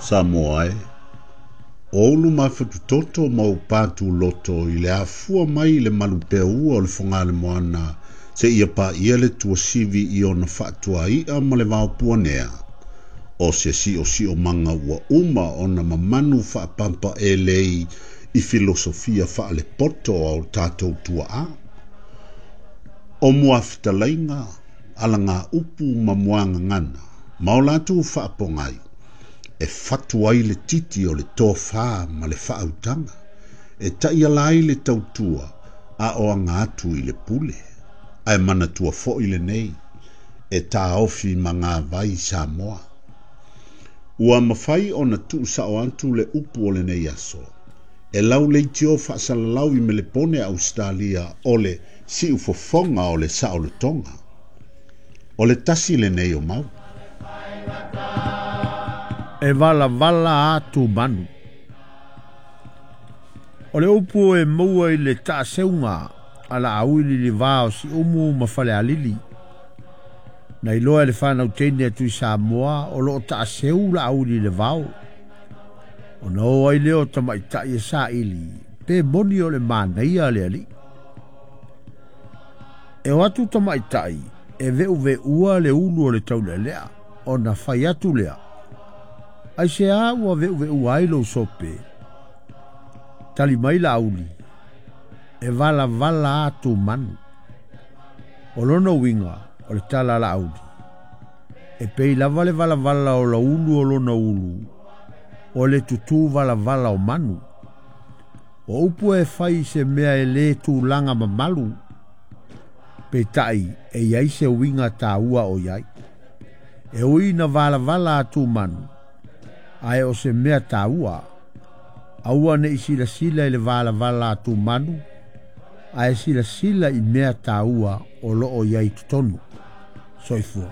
Samoa e, o ou lumafatutoto ma ou patuloto i le afua mai i le malupeaua o le Fogaalemoana seia paia le tuasivi i ona faatuai'a ma le vaopuanea, o se siosiomaga ua uma ona mamanu faapampaelei i filosofia faalepoto a o tatou tuaa. O muafetalaiga, alagaupu ma muagagana, ma o latou faapogai, e fatu ai le titi o le tofā ma le faautaga, e taiala ai le tautua a o aga atu i le pule. Ae manatua foi lenei, e taofi magavai Samoa. Ua mafai ona tuusao atu le upu o lenei aso, e lauleitio faasalalau i Melepone Ausetalia o le siufofoga o le saolotoga. O le tasi lenei o mau. E valavala atu manu. O le upu e maua i le taaseuga a Laaui lilivā o Siumu ma Falealili. Na iloa e le fanau teine a Tuisamoa o loo taaseu Laauli i le vao. Ona o ai lea o tamaitai e saili pe moni o le manaia a le alii. E o atu tamaitai e veuveua le ulu o le taulealea ona fai atu lea. Aisea ua veuveua ai lou sope? Tali mai Laauli, e valavala atu manu. O lona uiga o le tala a Laauli, e pei lava le valavala o laulu o lona ulu, o le tutū valavala o manu. O upu e fai i se mea e lē tulaga mamalu, peitai e i ai se uiga taua o i ai. E ui ina valavala atu manu, ae o se mea taua, aua ne i silasila i le valavala atu manu, ae silasila i mea taua o loo i ai totonu. Soifua.